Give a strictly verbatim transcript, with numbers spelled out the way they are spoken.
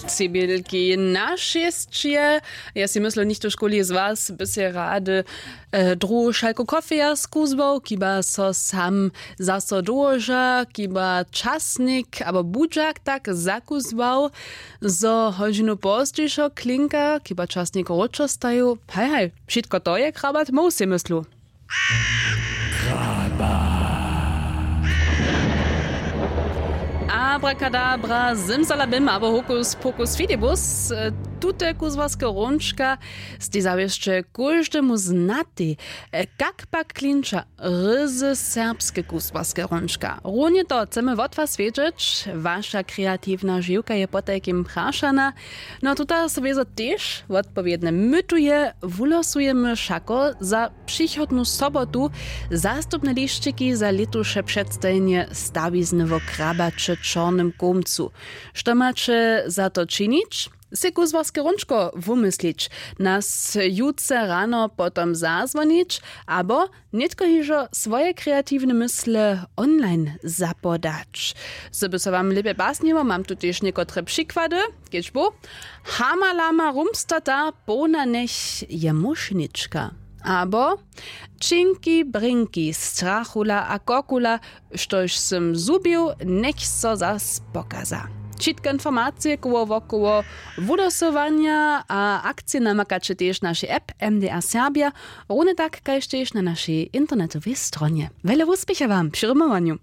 Cebjelki na šěsće. Ja si myslu nichto škuli z was by se rady e, druhu šalku kofeja skuzwał kiba so sam zaso dołoža kiba časnik abo budźak tak zakuzwał zo hodźinu pozdźišo klinka kiba časnik wróćo staju. Haj haj, wšitko to je krabat móhł sej myslu. Abrakadabra zymzalabim abo hokus pokus fidibus. Tute kuzłaske hrónčka stej zawěsće kóždemu znatej. Kak pak klinča ryzy serbske kuzłaske hrónčka runje to chcemy wot was wědźeć. Waša kreatiwna žiwka je potajkim prašana. No tuta so wězo tež wotpowědne mytuje wulosujemy wšako za přichodnu sobotu zastupne lišćiki za lětuše předstajenje stawizny wo krabaće čornym kołmcu. Što maće za to činić? Sej kuzłarske hrónčko wumyslić, nas jutře rano potom zazwonić abo nětko hižo swoje kreatiwne mysle online zapodać. Zo by so wam lěpje pasniło mam tu tež někotre přikłady. Kedźbu hamalama rumstata połna njech je mušnička abo činki brinki strachula a kokula. Štož sym zhubił njech so zas pokaza. Wšitke informacije koło wokoło wudosowanja a akcije namakaće tež w našej app mda serbja. Runje tak kaž tež na našej internetowej stronje. Wjele wuspěcha wam při rumowanju.